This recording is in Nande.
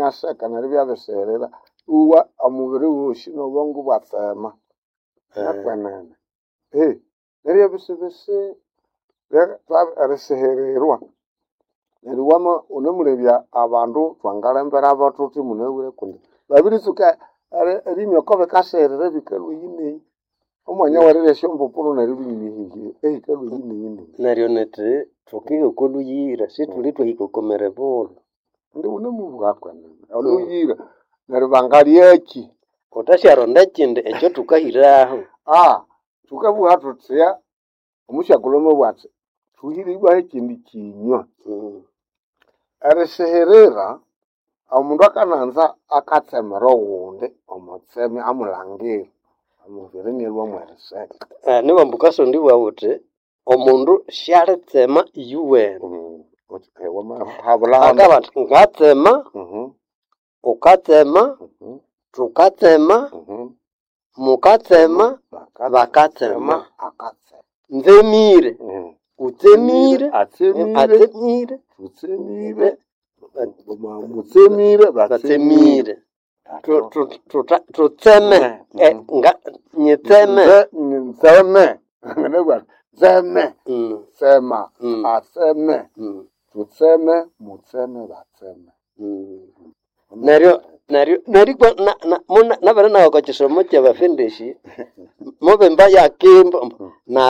Iniaseka neryo ibyabisighirira iwa omubiri wosi nobwongo ibwatsema nakwenene. Neryo ebisibisi erisihirirwa neryo wama wunemulebya abandu thwangalemberabo thuthi munabwire kundi babiritsuka erinywa oko bikasighirira ebikalhwa eyi neyi. Omwanya werirya esyombupuru neryo ibiminya ehikalhwa eyi neyi neyi. Neryo nithi thukiha oko lhuyira sithuli thwahika oko miribulhu. Indi wunemubugha kwenene olhuyira neryo bangalyaki? Wuthisyaronda ekindi ekyathukahiraho. Thukabugha thuthya omusyakulhu amabugha athi thuhire ibwa hekindi kyinywa. Erisihirira omundu akananza akatsemera ogundi omwitsema amulhangira omubiri inalhwa mweriseka. Nibambu wukasonda ibugha wuthi omundu syalitsema iyuwene. Akabugha athi ngatsema, wukatsema, thukatsema, mukatsema, bakatsema. Nzemire, wutsemire, atsemire, Tutsemire, mutsemire, batsemire. Tutseme, nyitseme. Nzeme, nzeme, tsema, atseme, tutseme, mutseme, batseme. Neryo neryo nerikwa nabere nawa okwa kisomo kyabafendeshi mubimba yakimba na.